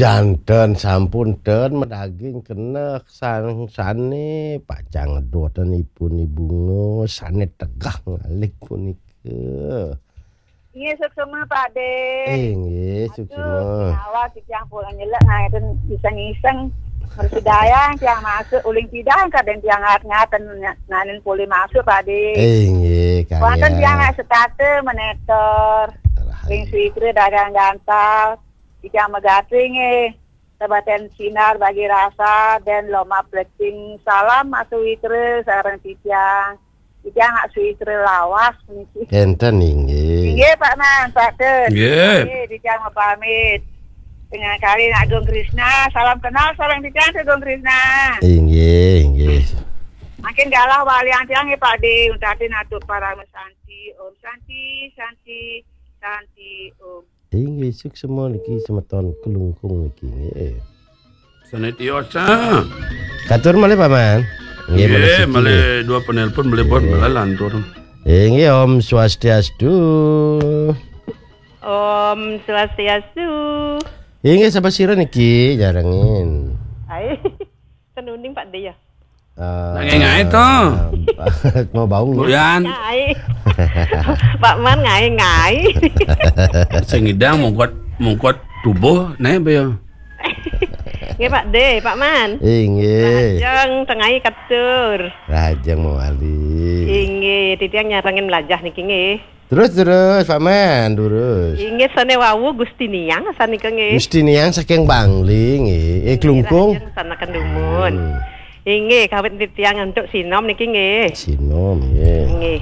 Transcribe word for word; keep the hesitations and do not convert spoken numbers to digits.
Janten sampun ten medaging kenek sang sane pacang ngedoten ipun ibungo sane tegah ngalih punika. Nggih, suksma, Pak De. Eh, nggih, suksma. Aduh, awak titiang pun nyelek ngaten iseng-iseng. Mersidayang tiang masuk uling pidang kadang tiang ngat-ngaten nanin pulih masuk, Pak De. Eh, nggih, wonten kalian. Tiang nggak setata menetor. Rahayu. Ring Suitra dagang gantal. Titiang megati nggih. Sebaten sinar bagi rasa dan loma plecing. Salam Mas Suitra sareng titiang. Titiang nak Suitra lawas niki. Enten inggih. Inggih Pak Man, Pak Tun. Nggih. Nggih, titiang mau pamit. Dengan kali nak Agung Krisna, salam kenal sareng titiang Agung Krisna. Inggih, inggih. Makin galah walian tiang nggih Pak De, untatin atur parama santi. Om Santi, Santi, Santi, Om. Inggih, suksma niki semeton Kelungkung niki nggih. Sane tiosa. Katur malih Paman. Nggih, malih siki, malih nggih. Dua penelpon malih pun, nggih, malih lantur. Inggih, Om Swastiastu. Om Swastiastu. Inggih, sapa sira niki nyarengin? Hai. Tenuning Pak De ya. Eh, ngae-ngae to. Mau bau nggih? Buyan. Ngae. Pak Man ngae-ngae. Sing ngidang mungkot, mungkot tubuh nae apa ya? Nggih Pak De, Pak Man. Inggih. Lajeng tengai katur. Lajeng mawali. Inggih, titiang nyarengin melajah niki nggih. Terus, terus, Pak Man, terus. Inggih, sane wau Gusti Niang sanika nggih. Gusti Niang saking Bangli nggih. Eh, Kelungkung. Lajeng sanaken dumun. Hmm. Inggih, kawit titiang untuk sinom niki nggih. Sinom nggih. Nggih.